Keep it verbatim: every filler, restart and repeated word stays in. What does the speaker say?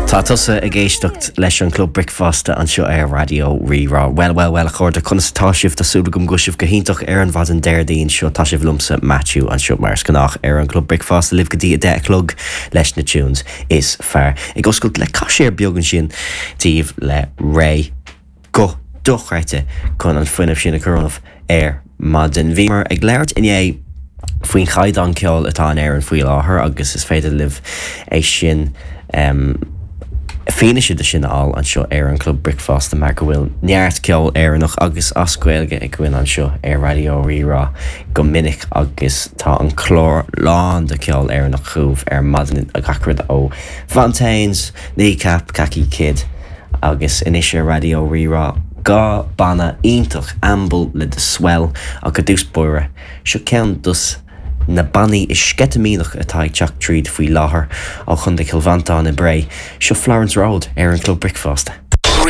Tá tusa ag éisteacht leis an Club Bricfeasta anseo ar Raidió Rí-Rá. Well well well a chairde conas atá sibh tá súil agam go bhfuil sibh go hiontach ar an mhaidin Déardaoin seo tá sibh liomsa Matthew anseo mar is gnách ar an Club Bricfeasta libh go dtí a deich a chlog leis na tunes is fearr. Ag oscailt le caiséir beag ansin daoibh le Raye go dochreidte chun an fuinneamh sin a chur ar maidin. Bhíomar ag labhairt inné faoin chaighdeán ceoil atá in Éirinn faoi láthair agus is féidir libh é sin um, fianaise de sin fháil anseo ar an Club Bricfeasta mar go bhfuil neart ceol Éireannach agus as Gaeilge againn anseo ar Raidió Rí-Rá go minic agus tá an clár lán de ceol Éireannach chugaibh ar maidin gach rud ó Fontaines, Kneecap, Kaki Kid agus anois ar Raidió Rí-Rá dhá banna iontach Amble le The Swell ach i dtús báire seo ceann dos na bannaí is sceitimíneach atá ag teacht tríd faoi láthair ó Chontae Chill Mhantáin i mBré, seo Florence Road ar an Club Bricfeasta.